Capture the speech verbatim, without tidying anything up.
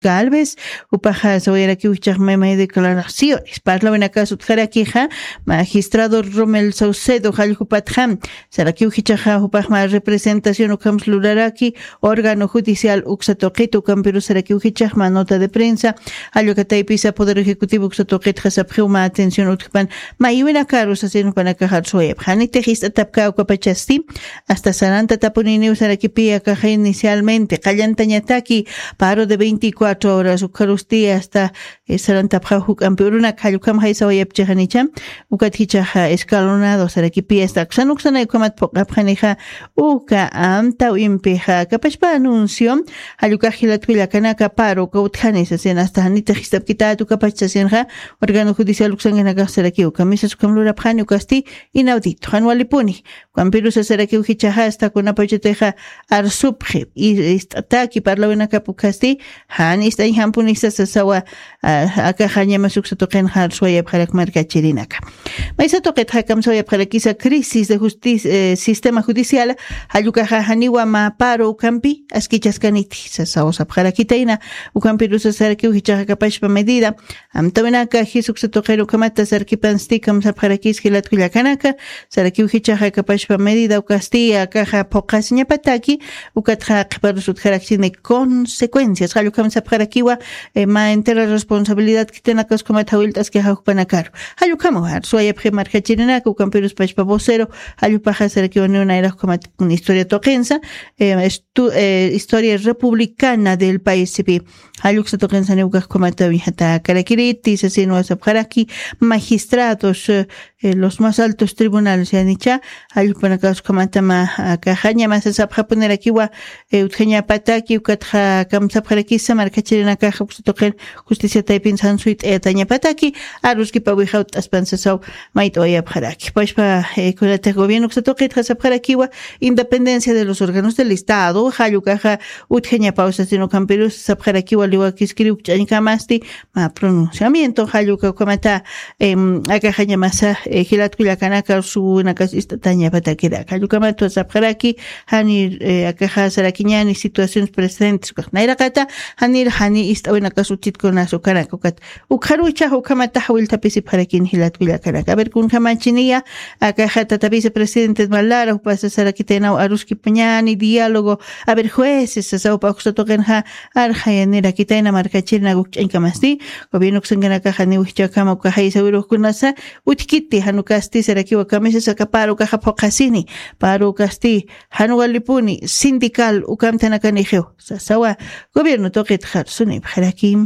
Galvez, jupaxa sawayarakiw jichhax meme declaraciones parlawinakas utjarakixa, magistrado Romel Saucedo jallkupatxa, sarakiw jichhaxa jupaxma representación ukhams luraraki, órgano judicial uksa tuqit ukampirus sarakiw jichhaxma nota de prensa, jallukataypisa poder ejecutivo uksa tuqitxa sapxiwma atención utjpan, maywinakarus asin jupanakaxar suwayapxani tixist'atapka ukapachasti, hasta saranta tapuniniw sarakipi akaxa inicialmente qallantañataki, paro de veinticuatro horas ukharusti hasta, sarantapxaw juk'ampi urunak jallukam jaysawayapchixanicha, ukat jichaxa escalonado sarakipi hasta aksan uksanay ukhamat puq'apxanixa, uka amtaw impixa kapachpa anuncio, jallukax jilatkullakanaka paro uka utjani sasin hasta janitix jist'apkitat ukapach sasinxa, órgano judicial uksankanakax saraki uka misas ukham lurapxani ukasti, inaudito jan walipuni, ukampirusa sarakiw jichhaxa hasta kunapachatixa arsupxi, ist'ataki parlawinakap ukhasti, jan ist'añ jampunisa sasawa, akaxa ñamas uksa tuqinxa arsuwayapxarak markachirinaka. Maysa tuqitxa kamsawayapxarakisa crisis de sistema judicial, jallukaxa janiwa mä paro ukampi askichaskaniti sasaw sapxarakitayna, ukampirusa sarakiw jichhaxa kapachpa medida, amtawinaka jis uksa tuqir ukhamata sarkipansti kamsapxarakis jilatkullakanaka, sarakiw jichhaxa kapachpa medida ukasti akaxa phuqasiñapataki, ukatxa qhiparus utjarakchini consecuencias jallukam sapxarakiwa, mä entera responsabilidad khitinakas ukhamat jawillt'askixa jukpanakaru, jallukhamaw arsuwayapxi markachirinaka ukampirus pachpa vocero, jallupaxa sarakiwa niw nayrax ukhamat historia tuqinsa, historia republicana del paisipi, jalluksa tuqinsa niw ukax ukhamata wiñjatakarakiriti sasin wasapxaraki, magistrados, los más altos tribunales yanicha, jallukpanakax ukhamatama, akaxa ñamasa sapxapunirakiwa, utjañapataki ukatxa kamsapxarakisa markachirinakaxa uksa tuqir, justicia taypin sansuyt'ayatañapataki, aruskipa wijawt'aspan sasaw, mayt'awayapxaraki pachpa, kunatix gobierno uksa tuqitxa sapxarakiwa, independencia de los órganos del estado jallukaxa, utjañapaw sasin ukampirus sapxarakiwa liwakiskiri ukch'añkamasti, mä pronunciamiento jalluka ukhamata, akaxa ñamasa, jilatkullakanaka suwinakas ist'atañapatakiraka jallukamatwa sapxaraki, janir, akaxa sarakiñani situaciones presentes ukax nayraqata, janir jani ist'awinakas utjitkunas ukanaka ukat, ukxaruchax ukhamatax jawillthapisipxarakini jilatkullakanaka a ver kunjamachiniya, akaxa tata vicepresidente malara jupasa sarakitaynaw aruskipañani diálogo, a ver jueces sasawpa uksa tuqinxa, arxayanirakitayna markachirina ukch'añkamasti, gobierno uksankanakaxa niw jichhakama uka jaysawirukkunasa, utjkiti jan ukasti sarakiwa kamisas aka paro ukaxa phuqasini, paro ukasti, jan walipuni sindical ukamtanakanixiw, sasawa, gobierno tuqitxa arsunipxaraki.